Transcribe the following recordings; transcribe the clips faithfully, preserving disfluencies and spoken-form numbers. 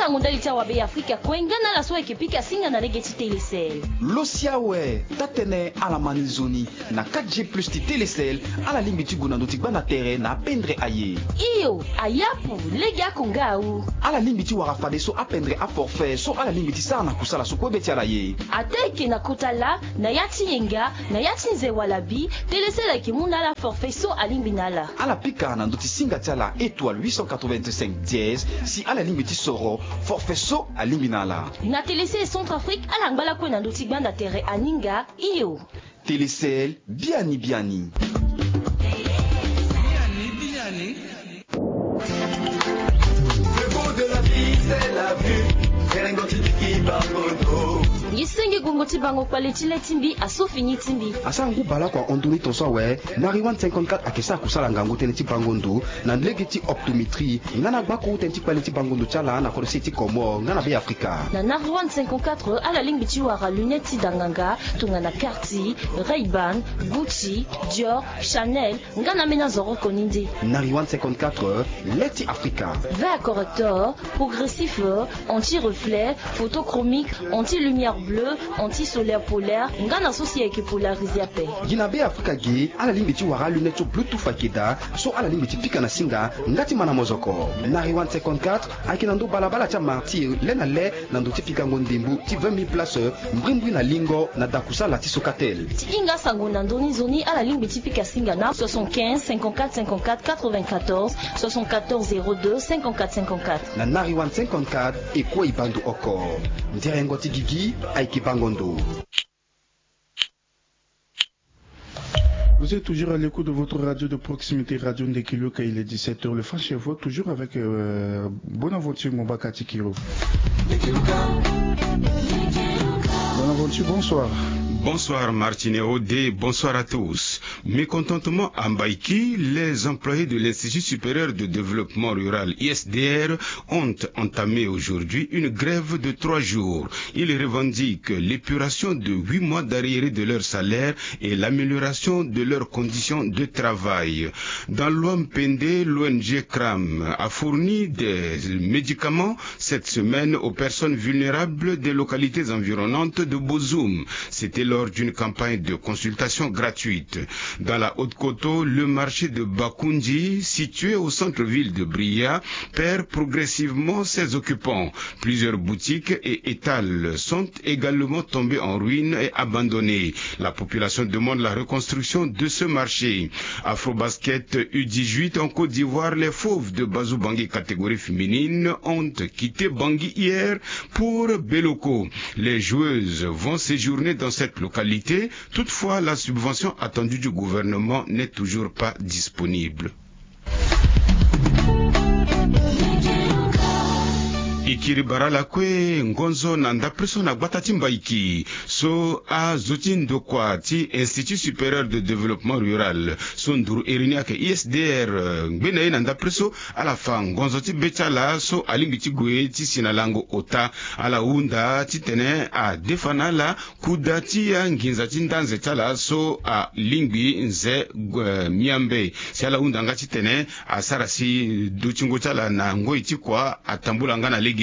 Tango ndali ti awabe ya Afrika kue nga na ala so ayeke pika singa na lege ti Telecel. Lo si awe, taa-tënë ala ma ni nzoni. Na quatre G plus ti Telecel, ala lingbi ti gue na ndö ti gbanda tere na apendre aye. Iyo, ayapu, lege ako nga awu. Ala lingbi ti wara fadeso apendre aforfait so ala lingbi ti sara na kusala so kue be ti ala ye. Ataa eke na kota laa, na ya ti yenga, na ya ti nze wala bi, Telecel ayeke mu na ala forfait so alingbi na ala. Ala pika na ndö ti singa ti ala étoile huit cent quatre-vingt-cinq dièse si ala lingbi ti soro forfait so alingbi na ala. Na Telecel Centrafrique, ala ngba lakue na ndö ti gbanda tere aninga. Iyo. Telecel, biani biani. Biani biani. Le goût de la vie, c'est la vue. Serengo ti diki bango do. Ngi senge gongo ti bango kpale ti le ti mbi, aso fini ti mbi. Asara ngu baleoko ahon ndoni tongaso awe. Nariwan cinquante-quatre ayeke sara kusala ngangu tënë ti bango ndo na lege ti optométrie nga na gbako tënë ti kpale ti bango ndo ti ala na kodro se ti Comores nga na Beafrika. Na Nariwan cinquante-quatre, ala lingbi ti wara lunette ti danganga tongana Cartier, Ray-Ban, Gucci, Dior, Chanel, nga na ambeni azoroko ni nde. Nariwan cinquante-quatre, le ti Afrika. Verre correcteur, progressif, anti-reflet, photochromique, anti-lumière bleue, anti-solaire polaire, nga na so si ayeke polarisé ape. Gi na Beafrika ge, ala lingbi ti wara alunette so Bluetooth ayeke daa, so ala lingbi ti pika na singa nga ti ma na mozoko. Nariwan cinquante-quatre ayeke na ndö balabala ti amartyr le na le na ndö ti pikango ndembo ti vingt mille places, mbrimbri na lingo na dakusala ti Socatel. Ti hinga sango na ndö ni nzoni, ala lingbi ti pika singa na soixante-quinze, cinquante-quatre, cinquante-quatre, quatre-vingt-quatorze, soixante-quatorze, zéro deux, cinquante-quatre, cinquante-quatre. Na Nariwan cinquante-quatre, e kue e baa ndo oko. Nderengo ti gigi ayeke bango ndo. Vous êtes toujours à l'écoute de votre radio de proximité, Radio Ndekiluka. Il est dix-sept heures, le Flash Info, toujours avec euh, Bonaventure Mombaka Tikiro. Bonaventure, bonsoir. Bonsoir Martine Odé, bonsoir à tous. Mécontentement à Mbaïki, les employés de l'Institut supérieur de développement rural, I S D R, ont entamé aujourd'hui une grève de trois jours. Ils revendiquent l'épuration de huit mois d'arriérés de leur salaire et l'amélioration de leurs conditions de travail. Dans l'Ouham-Pendé, l'O N G CRAM a fourni des médicaments cette semaine aux personnes vulnérables des localités environnantes de Bozoum. C'était lors d'une campagne de consultation gratuite. Dans la Haute-Koto, le marché de Bakoundji, situé au centre-ville de Bria, perd progressivement ses occupants. Plusieurs boutiques et étals sont également tombés en ruine et abandonnés. La population demande la reconstruction de ce marché. Afrobasket U dix-huit en Côte d'Ivoire, les Fauves de Bazou Bangui catégorie féminine ont quitté Bangui hier pour Beloko. Les joueuses vont séjourner dans cette localité. Toutefois, la subvention attendue du gouvernement n'est toujours pas disponible. E kiri bara ala kue ngonzo na ndapre so na gbata ti Mbaiki so azo ti ndokua ti Institut Supérieur de Développement Rural so nduru iri ni ayeke I S D R, eh, ngbene ye na ndapre so, ala fa ngonzo ti be ti ala so alingbi ti gue ti si na lango ota. Ala hunda titene adefa na ala kuda ti anginza ti ndanze ti ala so alingbi nze, eh, miambe. Si ala hunda nga titene asara si dutingo ti ala na ngoi ti kua atambula nga na legeni.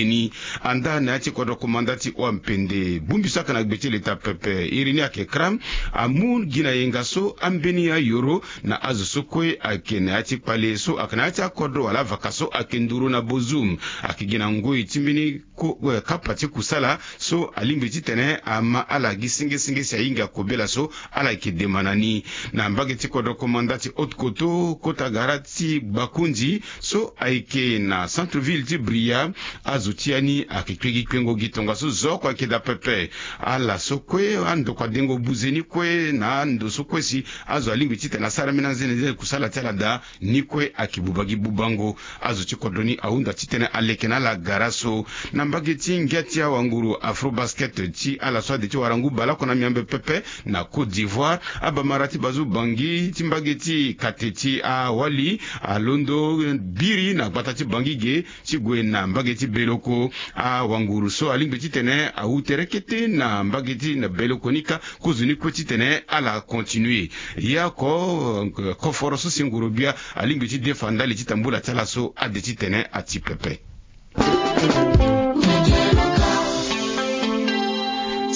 Anda na ya ti kodro komanda ti Ouham-Pendé, bongbi so ayeke na gbe ti leta pepe, iri ni ayeke CRAM, amu gi na yenga so ambeni ayoro na azo so kue ayeke na ya ti kpale so ayeke na ya ti akodro wala avaka so ayeke nduru na Bozoum. Ayeke gi na ngoi ti mbeni ko, eh, kapa ti kusala so alingbi titene ama ala gi sengesenge si ahinga kobela so ala yeke dema na ni. Na mbage ti kodro komanda ti Haute-Koto, kota gara ti Bakoundji so ayeke na centre-ville ti Bria, azo ti ya ni ayeke kpengikpengo gi tongaso zo oko ayeke daa pepe. Ala so kue andokua dengo buze ni kue na ando so kue si azo alingbi titene asara mbeni anzenenze kusala ti ala daa, ni kue ayeke buba gi bubango. Azo ti kodro ni ahunda titene aleke na ala gara so. Na mbage ti ngia ti awanguru Afrobasket ti ala so ade ti wara ngu baleoko na miambe pepe na Côte d'Ivoire, abamara ti Bazou Bangui ti mbage ti kate ti awali alondo biri na gbata ti Bangui ge ti gue na mbage ti Beloko. Awanguru so alingbi titene awu tere kete na mbage ti na Beloko ni kâ, kozo ni kue titene ala continue. Ya oko, eh, koforo so si nguru bia alingbi ti defa ndali ti tambula ti ala so ade titene ati pepe.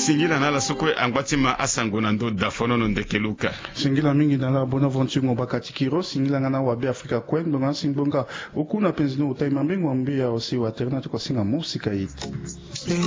Singila na ala so kue angba ti ma asango na ndo dafonono ndeke luka. Singila mingi na ala bona vonti ngo bakati kiro singila nga na wabe afrika kue ndonga si ngbonga. Oku na penzi no ota imambe ngo ambe ya osi watere na toko asinga mo sika iti.